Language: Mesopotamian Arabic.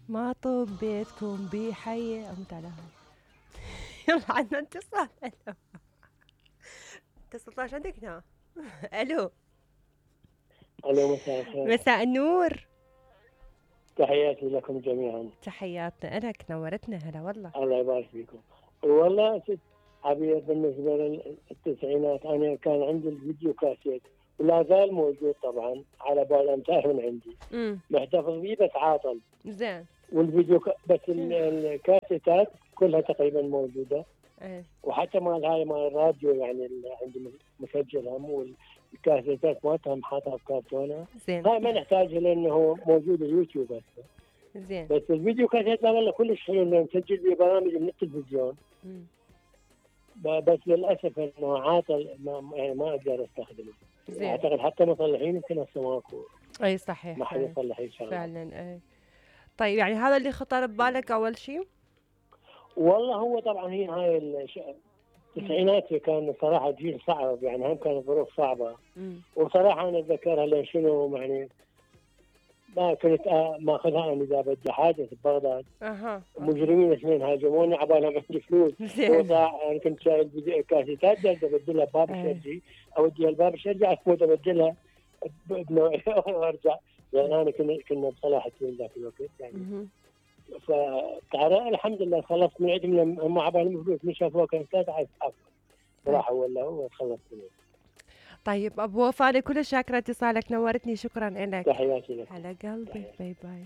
ما طوب بيتكم بحي اموت على هاي. يلا عندنا اتصال. الو اتصلت عندك هنا. الو الو مساء الخير. مساء النور. تحياتي لكم جميعا. تحياتنا لك، نورتنا. هلا والله. الله يبارك فيكم. والله ست عبير، بالنسبه للتسعينات انا كان عندي الفيديو كاسيت ولا زال موجود طبعا على بال امتار من عندي. محتفظ به بس عاطل. زين. والفيديو بس الكاسيتات كلها تقريبا موجوده. وحتى مال هاي مال الراديو يعني اللي عندي مسجل هم، والكاسيتات مالتها حاطها بكرتونه. زين. هاي ما نحتاجها لانه موجود اليوتيوب هسه. زين. بس الفيديو كاسيت لا والله كلش حلو لانه نسجل به برامج من التلفزيون. بس للاسف انه عاطل، ما اقدر استخدمه. زين. اعتقد حتى مصلحين يمكن هسه ماكو. اي صحيح. ما حد يصلح ان شاء الله. فعلا. اي طيب، يعني هذا اللي خطر ببالك اول شيء؟ والله هو طبعا هي هاي التسعينات كان صراحه جيل صعب، يعني هم كانت ظروف صعبه. وصراحه انا اتذكرها لان شنو يعني ما كنت ماخذها انا اذا بدي حاجه في بغداد. مجرمين اثنين هاجموني عبالهم عندي فلوس. انا كنت شايل كاسيتات جالس ابدلها بباب الشرجي، اوديها الباب الشرجي عفوا ابدلها وارجع، لان انا كنا بصلاح الدين ذاك الوقت يعني. فتعرف الحمد لله خلصت من عندهم لما عبالهم فلوس، من شافوها كاسيتات عفوا راحوا ولا هو خلصت منه. طيب ابو وفاء، كل شاكره اتصالك، نورتني، شكرا لك. تحياتي لك. على قلبي. باي باي.